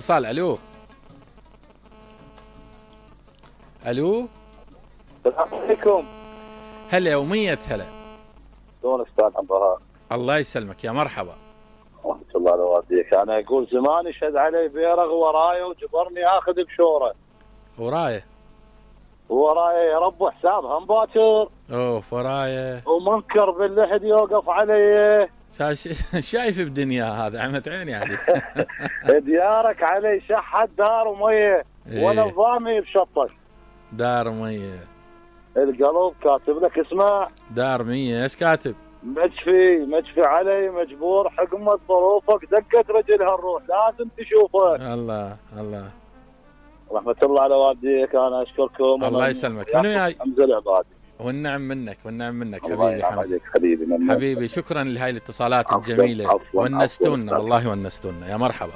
اتصال. الو الو السلام عليكم. هلا ومية هلا. شلون استاذ عبد الوهاب؟ الله يسلمك، يا مرحبا. ورحمة الله وبركاته. انا اقول زمان يشهد علي بيرغ وراي وجبرني اخذ بشوره. وراي يا رب حساب هم باكر. اوف وراي. ومنكر باللحد يوقف علي. شايف بدنيا هذا عمت عيني عليك. ديارك علي شحت دار وميه ولا ضامي بشطك. دار مية. القلب كاتب لك اسمع. دار مية. ايش كاتب؟ مجفي علي مجبور حكمة ظروفك دقت رجلها الروح لازم تشوفك. الله الله. رحمة الله على والديك. انا اشكركم. الله يسلمك. منو جاي؟ امزل عبادي. والنعم منك حبيبي حمزة. حبيبي شكرا لهاي الاتصالات الجميلة. ونستونا والله ونستونا. يا مرحبا.